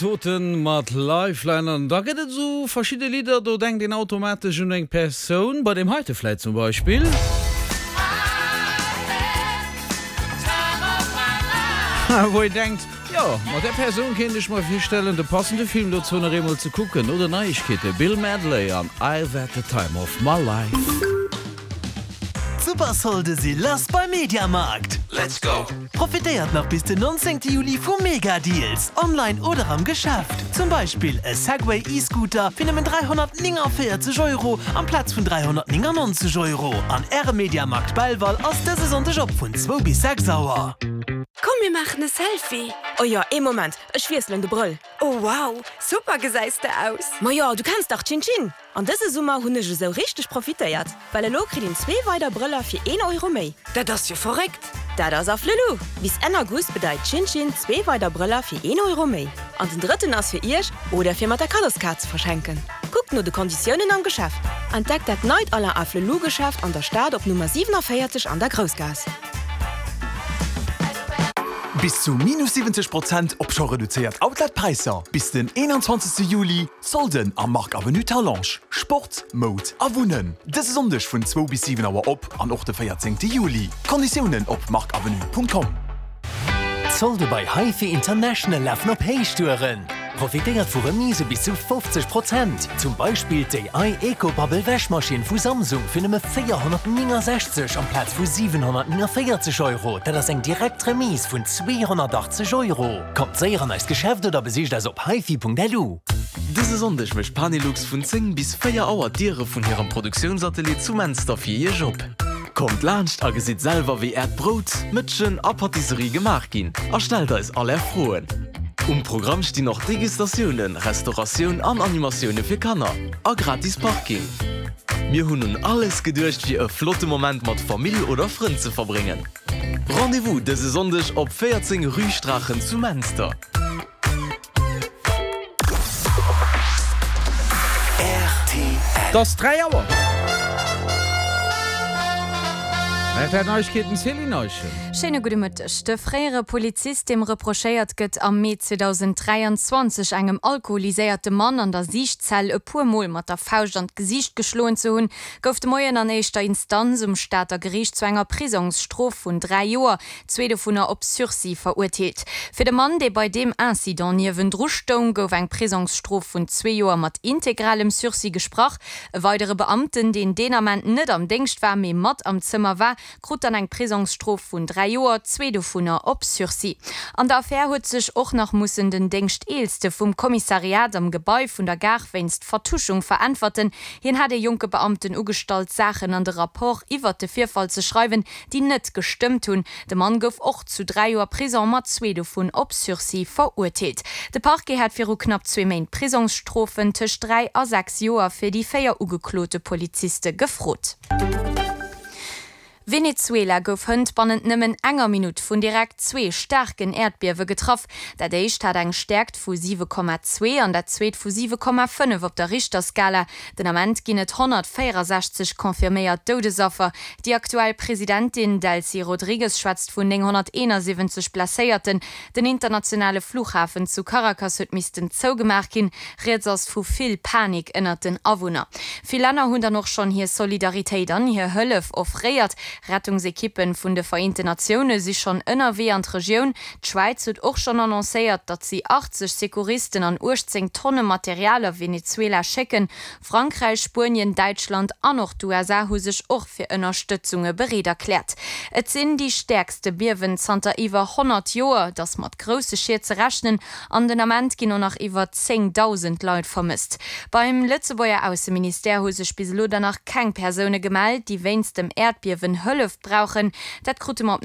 Toten mat Lifeline an da gëtt et esou verschidde Lidder, do denkt een automatesch un eng Persoun, bei deem heite vläit zum Beispill. Wou een denkt, jo, mat där Persoun kéint ech mer virstellen, de passende Film dozou nach eemol ze kucken oder Neiegkeete, Bill Medley an I've Had The Time Of My Life. D'Supersolde si lass bei Mediamarkt! Let's go! Profitéiert nach bis den 19 Juli vu Mega-Deals, online oder am Geschäft. Zum Beispill e Segway E-Scooter fir nëmmen 349 Euro amplaz vun 399 Euro. An Äre Mediamarkt Belval ass dëse Sonndeg op vun zwou bis 6 Auer. Komm mir maachen e Selfie! Oh jo, ee Moment, ech wiesselen de Brëll. Oh wow, super gesäis de aus! Majo, du kenns dach Chin Chin! An dëse Summer hunn ech esou richteg profitéiert, well elo kritt een zwee weider Brëller fir een Euro méi. Dat ass jo verréckt! Dat ass Afflelou! Bis Enn August bedeit Chin Chin zwee weider Brëller fir een Euro méi. An den drëtten ass fir iech oder fir mat der Kaddoskaart ze verschenken. Kuckt no de Konditiounen am Geschäft. Entdeckt dat neit Alain Afflelou Geschäft an der Stad op Nummer 47 an der Groussgaass. Bis zu minus 70 Prozent op scho reduzéiert Outlet-Präisser bis den 21 Juli. Solden am Marc Avenue Talange, Sport, Moud a Wunnen. Dëse Sonndeg vun zwou bis 7 Auer op an och de 14 Juli. Konditiounen op marcavenue.com. D'Solde bei HiFi International lafen op Héichtouren! Profitéiert vu Remise bis zu 50 Prozent! Zum Beispill d'AI EcoBubble Wäschmaschinn vu Samsung fir nëmme 469 amplaz vu 749 Euro, dat ass eng direkt Remise vun 280 Euro! Kommt séier an eist Geschäft oder besicht eis op hifi.lu. Dëse Sonndeg mécht Panelux vun 10 bis 4 Auer d'Diere vun hirem Produktiounsatelier zu Menster fir Iech op. Kommt laanscht a gesitt selwer wéi äert Brout, Mëtschen a Patisserie gemaach ginn a stellt eis all är Froen. Um Programm stinn och Degustatiounen, Restauratioun an Animatioune fir Kanner a gratis Parking. Mir hunn un alles geduecht fir e flotte Moment mat Famill oder Frënn ze verbréngen. Rendez-vous dëse Sonndeg op 14 Rue Straachen zu Menster. Et ass 3 Auer. Rtl Neiegkeeten, Céline Eischen. Schéine gudde Mëtteg. De fréiere Polizist, deem reprochéiert gëtt, am Mee 2023 engem alkoholiséierte Mann an der Siichtzell e puer Mol mat der Fauscht an d'Gesiicht geschloen ze hunn, gouf de Moien an éischter Instanz um Stater Geriicht zu enger Prisongsstrof vun 3 Joer, zwee dovunner op Sursis, verurteelt. Fir de Mann, dee bei deem Incident niewendru stoung, gouf eng Prisongsstrof vun zwee Joer mat integralem Sursis gesprach. E weidere Beamten, deen deen Ament net am Déngscht war, mee mat am Zëmmer war, krut dann eng Prisongsstrof vun 3 Joer, zwee dovunner op Sursis. An der Affär huet sech och nach mussen den Déngschteelste vum Kommissariat am Gebai vun der Gare wéinst Vertuschung veräntwerten. Hien hat ee jonke Beamten ugestallt, Saachen an de Rapport iwwert de Virfall ze schreiwen, déi net gestëmmt hunn. De Mann gouf och zu 3 Joer Prison, mat zwee dovun op Sursis, verurteelt. De Parquet hat viru knapp zwee Méint Prisongsstrofen tëscht 3 a 6 Joer fir déi 4 ugeklote Poliziste gefrot. Venezuela gouf hënt bannent nëmmen enger Minutt vun direkt zwee staarken Äerdbiewe getraff. Dat éischt hat eng Stäerkt vu 7,2 an dat zweet vu 7,5 op der Richterskala. Den Ament ginn et 164 confirméiert Doudesaffer. Déi aktuell Presidentin Delcy Rodrigues schwätzt vun 971 Blesséierten. Den internationale Flughafen zu Caracas huet missten zougemaach ginn. Rieds ass vu vill Panik ënnert den Awunner. Vill Länner hunn dann och schonn hir Solidaritéit an hir Hëllef offréiert. Rettungsekippen vun de Vereenten Natioune si schonn ënnerwee an d'Regioun. D'Schwäiz huet och schonn annoncéiert, datt si 80 Secouristen an 18 Tonne Material a Venezuela schécken. Frankräich, Spuenien, Däitschland an och d'USA hu sech och fir Ënnerstëtzunge bereet erkläert. Et sinn déi stäerkste Biewen zanter iwwer 100 Joer. Et ass mat grousse Schied ze rechnen an den Ament ginn och nach iwwer 10.000 Leit vermësst. Beim Lëtzebuerger Ausseministère hu sech bis elo dann nach keng Persoune gemellt, déi wéinst dem Äerdbiewen Hëllef brauchen. Dat krute mer op.